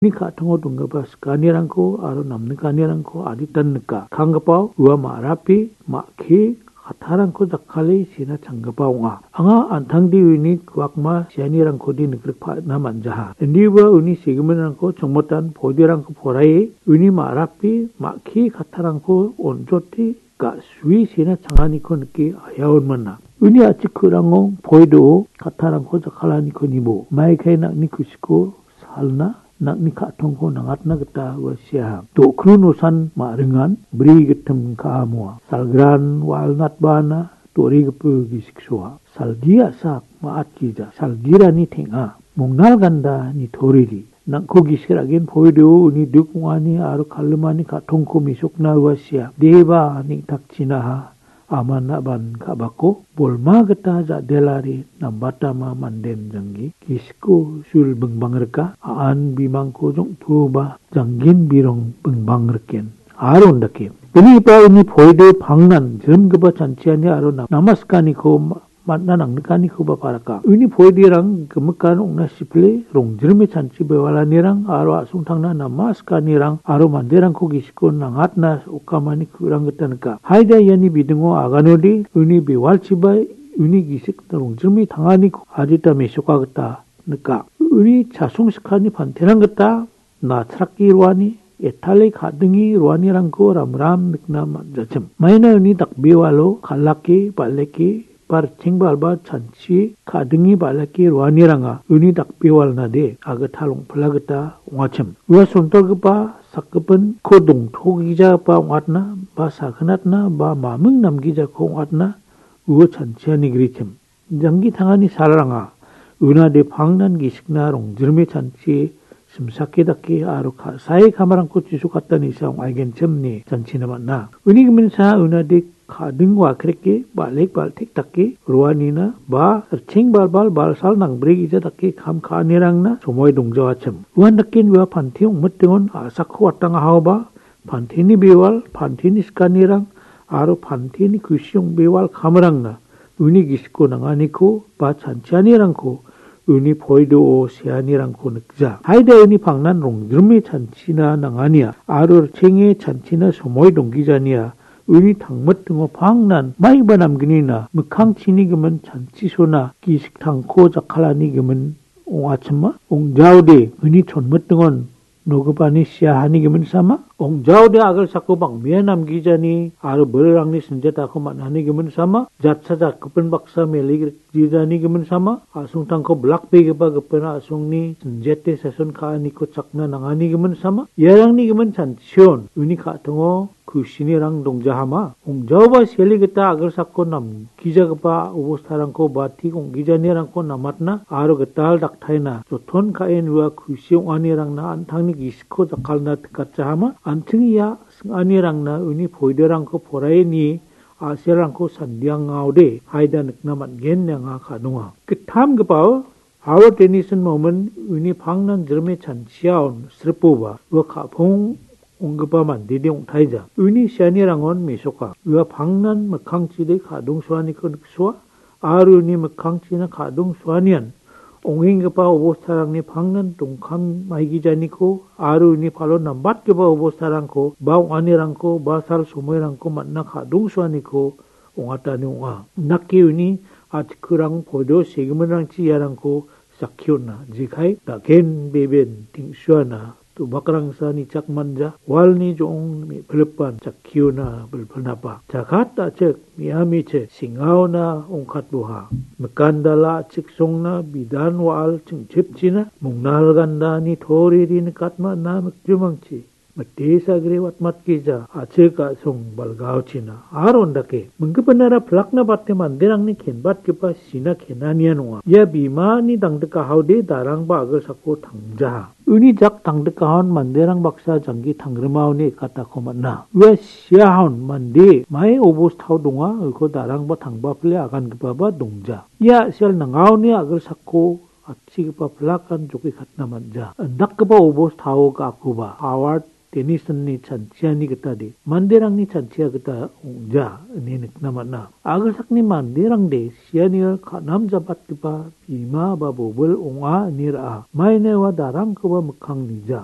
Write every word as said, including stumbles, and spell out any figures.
Uni ka·tango donggipa sikanirangko aro namnikanirangko aditan nika. Kanggipao ua ma·rapi, ma·ki, kattarangko jakkale sena changgipa ong·a. Anga an·tangde uni kuakma sianirangkode nigrikpana man·jaha. Indiba uni segiminrangko chongmotan poiderangko poraie uni ma·rapi, ma·ki, kattarangko on·jote ga·sue sena changaniko nike aiaon mana. Uni a·chik ku·rango poido kattarangko jakkalaniko nibo. Maikai nang·ni kusiko salna, nang·ni ka·tongko nangatna gita ua seaha. Do·kru nosan ma·ringan bri gittim ka·amoa. Salgran walnatbana do·rigipa gisiksoa. Salgi a·sak ma·atgija. Salgirani teng·a. Mongnal ganda nitoriri. Nang·ko gisik ra·gen poido uni duk ong·ani aro kalimani ka·tongko mesokna ua sea. Deba neng·takchinaha. Aman a·ban ka·bako bolma gita ja·delari nambatama manden janggi. Gisiko sul bingbang rika, a·an bimangko jongtoba janggin birong bingbang riken. Aro ondake. Bini ipa uni poide pangnan jrimgipa chanchiani aro nam-, namaskaniko ma-, man·a nangnikanikoba paraka. Uni poiderang gimikan ong·na sipile rongjrime chanchi bewalanirang aro a·songtangna namaskanirang aro manderangko gisiko nangatna okamani ku·rang gita nika. Haida iani bidingo aganode uni bewalchiba uni gisik rongjrime tanganiko adita mesoka gita nika. Uni chasong sikani panterang gita nachrake roani, etale ka·dinge roanirangko ramram nikna man·jachim. Maina uni dakbewalo kal·ake, bal·eke, ba ritcheng balba chanchi ka·dinge bal·eke roaniranga uni dakbewalnade agital ong·pila gita ong·achim. Ua sontorgipa sakgipinko dongtogijaba ong·atna ba sagnatna ba maming namgijako ong·atna ua chanchiani grichim. Janggi tangani salranga unade pangnan gisikna rongjrime chanchi simsake dake aro ka-, sae kamarangko chisokatani sa ong·aigenchim ine chanchina man·a. Uni giminsa unade ka·ding wakreke bal·ek bal·tek dake roanina ba ritcheng balbal balsal nangbrigija dake kam ka·anirangna somoi dongjawachim. Uan daken ua pante ong·mitingon a·sakko watangahaoba panteni bewal, panteni sikanirang aro panteni kusi ong·bewal kamrangna uni gisiko nanganiko ba chanchianirangko uni poidoo seanirangko nikja. Haida uni pangnan rongjrime chanchina nangania aro richenge chanchina somoi donggijania uni tangmitingo pangnan maiba namgnina mikkangchini gimin chanchisona gisik tangko jakkalani gimin ong·achima. Ong·jaode uni chonmitingon nogipani siahani gimin sama, ong·jaode agilsako bang·bea namgijani aro bilrangni sinjetako man·ani gimin sama, jatsa jakgipin baksa mele gri-, grijani gimin sama, a·songtangko blakbegipa gipin a·songni sinjete sason ka·aniko chakna nangani gimin sama, iarangni gimin chanchion uni ka·tingo kusini rang dongjahama. Ong·jaoba sele gita agilsako namgijagipa obostarangko ba tik ong·gijanirangko namatna aro gital daktaina joton ka·en ua kusi ong·anirangna an·tangni gisiko jakkalna tikatjahama. An·ching ia sing·anirangna uni poiderangko poraie nie a·selrangko sandiangaode haida nikna man·gen ine anga ka·donga. Gittamgipao Howard Dennison momen uni pangnan jrime chanchiaon sripoba ua ka·pong ong·gipa mandede ong·taija. Uni sianirangon mesoka. Ua pangnan mikkangchide ka·dongsoaniko niksoa aro uni mikkangchina ka·dongsoanian ong·enggipa obostarangni pangnan dongkam maigijaniko aro uni palo nambatgipa obostarangko ba ong·anirangko ba sal somoirangko man·a ka·dongsoaniko ong·atani ong·a. Indake uni a·tikrang podo segiminrangchi iarangko sakkiona. Jekai, daken beben teng·suana, do·bakrangsa nichak manja, walni jo·ong me·pilipan sakkiona bilpilnapa. Jakat a·chik, me·amichik, singaona ongkatboha. Mikandala a·chik songna bidan wa·al chingchipchina, mongnal gandani toriri nikatmana mikjumangchi. Mite sagre watmatgija, a·chik a·song balgaochina. Aro indake, minggipinara pilakna bate manderangni kenbatgipa sina kenanian ong·a. Ia bimani dangdikahaode darangba agilsako tangjaha. Uni jak dangdikahon manderang baksa janggi tangrimaoni ekatako man·a. Ua siahon mande mai obostao donga, uko darangba tangbapile agangipaba dongja. Ia a·sel nangaoni agilsako atchigipa pilakan jokikatna man·ja. Indakgipa obostao ga·akoba Howard Jenisonni chanchiani gitade, manderangni chanchia gita ong·ja ine nikna man·a. Agasakni manderangde sianio ka·namjabatgipa bima ba bobil ong·a ine ra·a. Maina ua darangkoba mikkang nija.